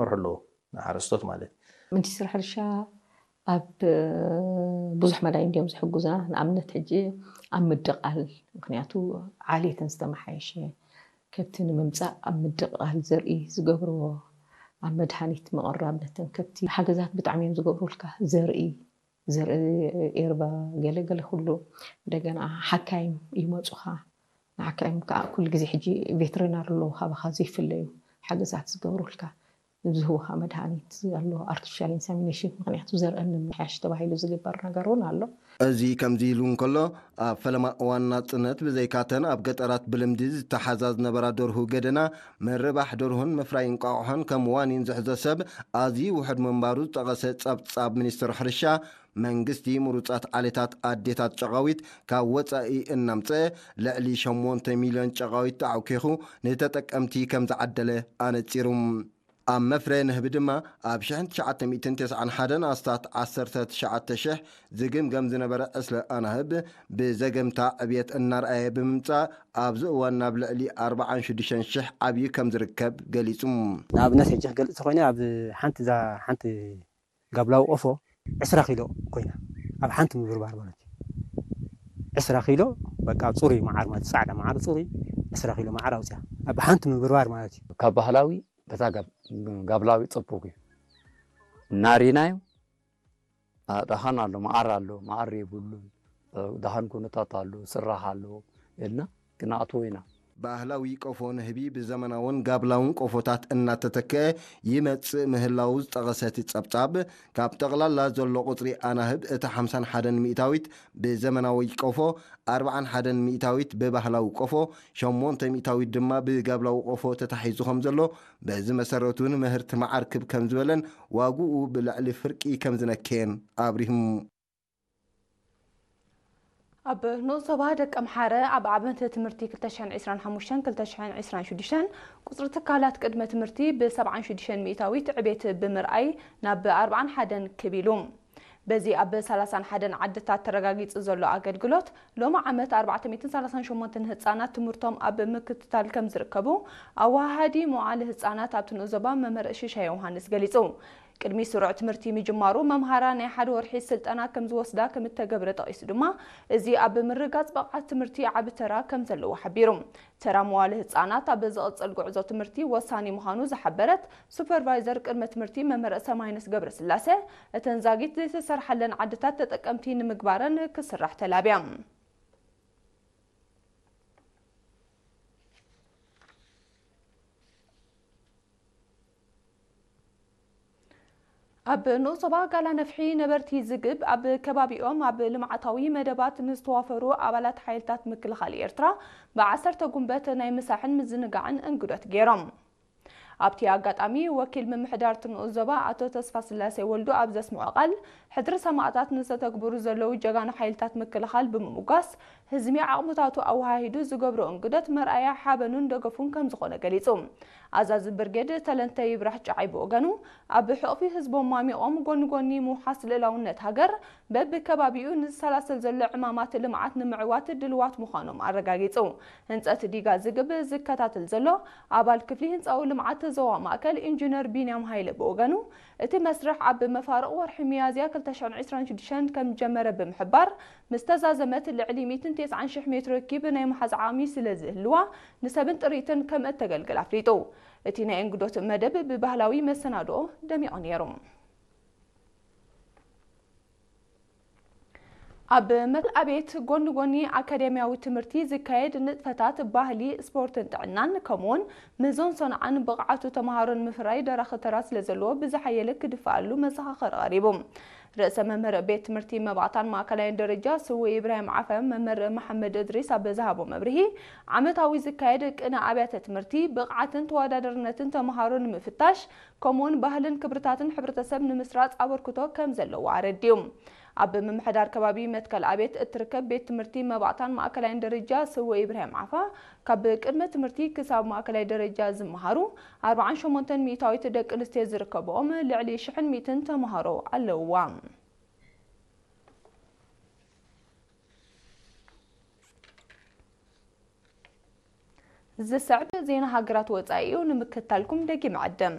ክመርሑ ኣለዎ፣ ንሓረስቶት ማለት። ሚኒስትሪ ሕርሻ ኣብ ብዙሕ መዳይ እንዲዮም ዝሕግዙና። ንኣብነት ሕጂ ኣብ ምድቓል፣ ምክንያቱ ዓሌተን ዝተመሓየሸ ከብቲ ንምምፃእ ኣብ ምድቓል ዘርኢ ዝገብርዎ፣ ኣብ መድሃኒት ምቕራብ ነተን ከብቲ ሓገዛት ብጣዕሚ እዮም ዝገብሩልካ። ዘርኢ ዘርኢ ኤርባ ገለገለ ኩሉ እንደገና ሓካይም ይመፁኻ። ንሓካይም ከዓ ኩሉ ግዜ ሕጂ ቬትሪናር ኣለዉ ካባኻ ዘይፍለዩ ሓገዛት ዝገብሩልካ። ዝህቡኻ መድሃኒት ኣሎ፣ ኣርቲፊሻል ኢንሰሚኔሽን፣ ምክንያቱ ዘርአን ንምሕያሽ ተባሂሉ ዝግበር ነገር እውን ኣሎ። እዚ ከምዚ ኢሉ እንከሎ፣ ኣብ ፈለማ እዋን ናጽነት ብዘይካተን ኣብ ገጠራት ብልምዲ ዝተሓዛ ዝነበራ ደርሁ ገደና፣ ምርባሕ ደርሁን ምፍራይ እንቋቑሖን ከም ዋኒን ዝሕዞ ሰብ ኣዝዩ ውሑድ ምንባሩ ዝጠቐሰ ጸብጻብ ሚኒስትሪ ሕርሻ፣ መንግስቲ ምሩጻት ዓሌታት ኣዴታት ጨቓዊት ካብ ወጻኢ እናምጸ ልዕሊ ሸሞንተ ሚልዮን ጨቓዊት ተዓኪኹ ንተጠቀምቲ ከም ዝዓደለ ኣነጺሩ። ኣብ መፍረ ንህቢ ድማ ኣብ ሽሕን ትሽዓተ ሚእትን ተስዓን ሓደን ኣስታት ዓሰርተ ትሽዓተ ሽሕ ዝግምገም ዝነበረ ዕስለ ኣናህብ ብዘገምታ ዕብየት እናርኣየ ብምምጻእ ኣብዚ እዋን ናብ ልዕሊ ኣርባዓን ሽዱሽተን ሽሕ ዓብዩ ከም ዝርከብ ገሊጹ። ንኣብነት ሕጂ ክገልጽ ተኮይነ ኣብ ሓንቲ እዛ ሓንቲ ጋብላዊ ቆፎ ዕስራ ኪሎ ኮይና ኣብ ሓንቲ ምብርባር ማለት እዩ። ዕስራ ኪሎ በቃ ጽሩይ መዓር ማለት ጻዕዳ መዓር ጽሩይ ዕስራ ኪሎ መዓር ኣውፅያ ኣብ ሓንቲ ምብርባር ማለት እዩ። ካብ ባህላዊ በታ ጋብላዊ ጽቡቅ እዩ እናሪናዮ። ደሃን ኣሎ፣ መዓር ኣሎ፣ መዓር የብሉን። ደሃን ኩነታት ኣሎ፣ ስራሕ ኣሎ ኢልና ክነኣትዎ ኢና። ባህላዊ ቆፎ ንህቢ ብዘመናውን ጋብላውን ቆፎታት እናተተክአ ይመጽእ ምህላዉ ዝጠቐሰ እቲ ጸብጻብ፣ ካብ ጠቕላላ ዘሎ ቁጽሪ ኣናህብ እቲ ሓምሳን ሓደን ሚእታዊት ብዘመናዊ ቆፎ፣ ኣርብዓን ሓደን ሚእታዊት ብባህላዊ ቆፎ፣ ሸሞንተ ሚእታዊት ድማ ብጋብላዊ ቆፎ ተታሒዙ ከም ዘሎ፣ በዚ መሰረት እውን ምህርቲ መዓር ክብ ከም ዝበለን ዋግኡ ብልዕሊ ፍርቂ ከም ዝነከየን ኣብሪሁም። ኣብ ንኡስ ዞባ ደቀምሓረ ኣብ ዓመተ ትምህርቲ ክልተ ሽሕን ዕስራን ሓሙሽተን ክልተ ሽሕን ዕስራን ሽዱሽተን ቁፅሪ ትካላት ቅድመ ትምህርቲ ብ ሰብዓን ሽዱሽተን ሚእታዊት ዕቤት ብምርኣይ ናብ ኣርብዓን ሓደን ክብ ኢሉ። በዚ ኣብ ሰላሳን ሓደን ዓድታት ተረጋጊፁ ዘሎ ኣገልግሎት ሎሚ ዓመት ኣርባዕተ ሚእትን ሰላሳን ሸሞንተን ህፃናት ትምህርቶም ኣብ ምክትታል ከም ዝርከቡ ኣወሃሃዲ መዋዕለ ህፃናት ኣብቲ ንኡስ ዞባ መምህር ሽሻ ዮውሃንስ ገሊፁ። ቅድሚ ስሩዕ ትምህርቲ ምጅማሩ መምሃራ ናይ ሓደ ወርሒ ስልጠና ከም ዝወስዳ ከም እተገብረ ጠቒሱ ድማ፣ እዚ ኣብ ምርግጋጽ ብቕዓት ትምህርቲ ዓቢ ተራ ከም ዘለዎ ሓቢሩ። ተራ መዋለ ህጻናት ኣብ ዝቕጽል ጉዕዞ ትምህርቲ ወሳኒ ምዃኑ ዝሓበረት ሱፐርቫይዘር ቅድመ ትምህርቲ መምህር ሰማይነስ ገብረስላሴ፣ እተን ዛጊት ዘይተሰርሓለን ዓድታት ተጠቀምቲ ንምግባረን ክስራሕ ተላብያ። ኣብ ንኡስ ዞባ ጋላ ነፍሒ ነበርቲ ዝግብ ኣብ ከባቢኦም ኣብ ልምዓታዊ መደባት ንዝተዋፈሩ ኣባላት ሓይልታት ምክልኻል ኤርትራ ብዓሰርተ ጉንበት ናይ ምሳሕን ምዝንጋዕን እንግዶት ገይሮም። ኣብቲ ኣጋጣሚ ወኪል ምምሕዳር እቲ ንኡስ ዞባ ኣቶ ተስፋስላሴ ወልዱ ኣብ ዘስምዖ ቃል፣ ሕድሪ ሰማእታት ንዝተተግብሩ ዘለዉ ጀጋኑ ሓይልታት ምክልኻል ብምምጓስ፣ ህዝቢ ዓቕምታቱ ኣወሃሂዱ ዝገብሮ እንግዶት መርኣያ ሓበኑን ደገፉን ከም ዝኾነ ገሊጹ። ኣዛዚ ብርጌድ ተለንተ ይብራህ ጨዓይ ብወገኑ፣ ኣብ ሕቕፊ ህዝቦም ማሚቖም ጎኒ ጎኒ ምውሓስ ልእላውነት ሃገር በብከባቢኡ ንዝሰላሰል ዘሎ ዕማማት ልምዓት ንምዕዋት ድልዋት ምዃኖም ኣረጋጊጹ። ህንጸት ዲጋ ዝግብ ዝከታተል ዘሎ ኣባል ክፍሊ ህንጻዊ ልምዓት ዞባ ማእከል ኢንጂነር ቢንያም ሃይለ ብወገኑ፣ እቲ መስርሕ ኣብ መፋርቕ ወርሒ ሚያዝያ ክልተ ሽሕን ዕስራን ሽዱሽተን ከም ዝጀመረ ብምሕባር፣ ምስ ተዛዘመት ልዕሊ ሚእትን ተስዓን ሽሕ ሜትሮ ኪብ ናይ ምሓዝ ዓቕሚ ስለ ዝህልዋ፣ ንሰብን ጥሪትን ከም እተገልግል ኣፍሊጡ። እቲ ናይ እንግዶት መደብ ብባህላዊ መሰናድኦ ደሚቑ ነይሩ። ኣብ መትከል ኣቤት ጎኒ ጎኒ ኣካዳሚያዊ ትምህርቲ ዝካየድ ንጥፈታት ባህሊ፣ ስፖርትን ጥዕናን ከምኡውን ምህዞን ሰንዓን ብቕዓቱ ተምሃሮ ንምፍራይ ደራኺ ተራ ስለዘለዎ ብዝሓየለ ክድፈኣሉ መዘኻኸሪ ቀሪቡ። ርእሰ መምህር ቤት ትምህርቲ መባእታን ማእከላይን ደረጃ ስዉእ ኢብራሂም ዓፋ መምህር መሓመድ እድሪስ ኣብ ዝሃቦ መብርሂ፣ ዓመታዊ ዝካየድ ቅነ ኣብያተ ትምህርቲ ብቕዓትን ተወዳዳርነትን ተምሃሮ ንምፍታሽ ከምኡውን ባህልን ክብርታትን ሕብረተሰብ ንምስራፅ ኣበርክቶ ከም ዘለዎ ኣረዲኡ። ኣብ ምምሕዳር ከባቢ መትከል ኣቤት እትርከብ ቤት ትምህርቲ መባእታን ማእከላይን ደረጃ ስዉእ ኢብራሂም ዓፋ ካብ ቅድመ ትምህርቲ ክሳብ ማእከላይ ደረጃ ዝመሃሩ ኣርብዓን ሸሞንተን ሚእታዊት ደቂ ኣንስትዮ ዝርከብኦም ልዕሊ ሽሕን ሚእትን ተምሃሮ ኣለውዋ። ዝስዕብ ዜና ሃገራት ወጻኢ እዩ ንምክትታልኩም ደጊም ዕድም።